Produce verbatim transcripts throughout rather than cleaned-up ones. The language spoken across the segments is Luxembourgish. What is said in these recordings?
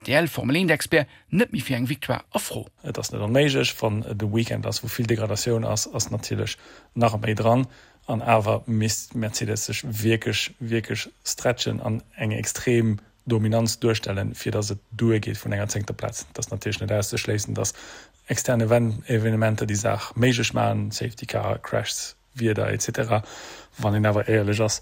R T L Formel eent Expert net méi fir eng Victoire a Fro. Et ass net onméiglech, wann et e Weekend ass, wou vill Degradatioun ass, ass natierlech nach méi dran. An awer misst Mercedes sech wierklech, wierklech stretchen an eng extrem Dominanz duerstellen, fir datt et duergeet vun enger zéngter Plaz. Et ass natierlech net auszeschléissen, datt extern Evenementer déi Saach méiglech maachen, Safety Car, Crashs, Wieder et cetera. Wann een awer éierlech ass,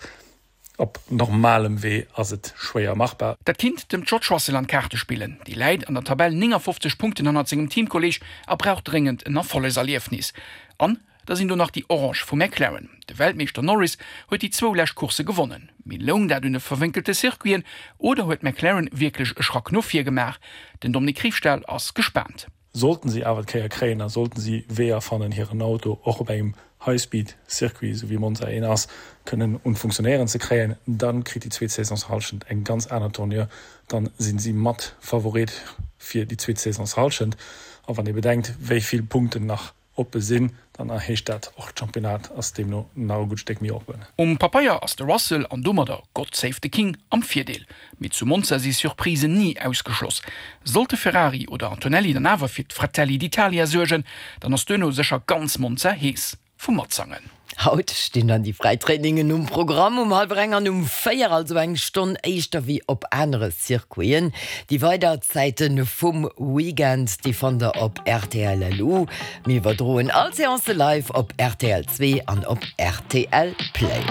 op normalem Wee ass et schwéier machbar. Dat kinnt dem George Russell an d'Kaarte spillen. Dee läit an der Tabell néngafofzeg Punkten hannert sengem Teamkolleeg a brauch dréngend en Erfollegserliefnis. An da sinn do nach déi Orange vu McLaren. De Weltmeeschter Norris huet déi zwou lescht Coursse gewonnen. Mee loung dat un de verwénkelte Circuiten oder huet McLaren wierklech e Schrack no vir gemaach? Den Dominique Riefstahl ass gespaant. Sollten si awer d'Kéier kréien a sollten si Weeër fannen, hiren Auto och op engem High-Speed-Circuit, esou wéi Monza een ass, kënnen un d'Funktionéieren ze kréien, dann kritt déi zweet Saisonshallschent eng ganz aner Tournure. Dann sinn si mat Favorit fir déi zweet Saisonshallschent. A wann ee bedenkt, wéi vill Punkten nach oppe sinn, dann heescht dat och, d'Championnat ass deemno nach e gutt Stéck méi oppen. Um Pabeier ass de Russell an domadder God save the King am Virdeel. Mee zu Monza si Surprisen ni ausgeschloss. Sollte Ferrari oder Antonelli dann awer fir d'Fratelli d'Italia suergen, dann ass duerno sécher ganz Monza hees vum Matsangen. Haut stinn dann déi fräi Trainingen um Programm um hallwer eng an um véier, also eng Stonn éischter wéi op anere Circuiten. Déi weider Zäite vum Weekend, déi fannt der op R T L L U. Mir iwwerdroen all Seance live op R T L zwee an op R T L Play.